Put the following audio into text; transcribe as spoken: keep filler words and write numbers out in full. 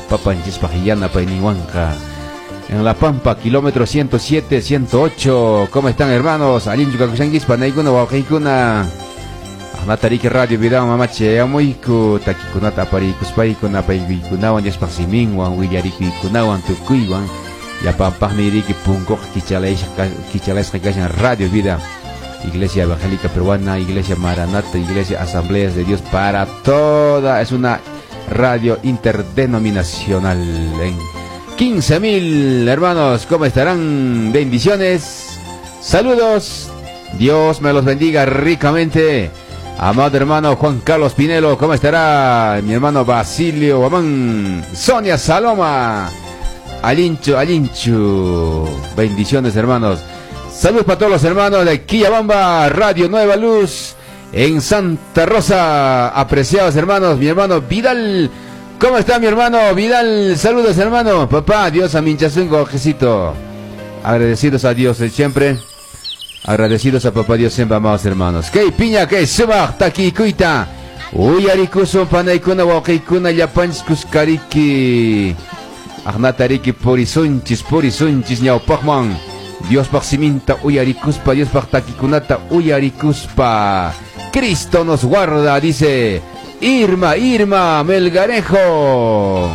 Papanchispaq yanapayninwanqa. En La Pampa, kilómetro ciento siete, ciento ocho. ¿Cómo están, hermanos? Allinchu kakushankichis, panaykuna, wawqiykuna. Aqnatariki Radio Vida mamache amuyku takikunata aparikuspayku napaykunawan Diospaq siminwan willarikuykunawan tukuywan llapanpaqmi riki punkuqa kichalayshqa kichalasqa kashan Radio Vida, Iglesia Evangélica Peruana, Iglesia Maranata, Iglesia Asambleas de Dios, para toda, es una radio interdenominacional. En quince mil hermanos, ¿cómo estarán? Bendiciones, saludos, Dios me los bendiga ricamente. Amado hermano Juan Carlos Pinelo, ¿cómo estará? Mi hermano Basilio Guamán, Sonia Saloma, Alinchu, Alinchu. Bendiciones, hermanos. Saludos para todos los hermanos de Quillabamba, Radio Nueva Luz, en Santa Rosa. Apreciados hermanos, mi hermano Vidal. ¿Cómo está mi hermano Vidal? Saludos, hermano. Papá, Dios allinchasunki, Jesito. Agradecidos a Dios siempre. Agradecidos a Papá Dios siempre, amados hermanos. Kay piña, kay sumaq takikuyta uyarikusun, panaykuna, wawqiykuna, llapanchis kuskariki. Aqnatariki purisunchis, purisunchis ñawpaqman. Diospaq siminta uyarikuspa, Diospaq takikunata uyarikuspa. Cristo nos guarda, dice Irma, Irma Melgarejo.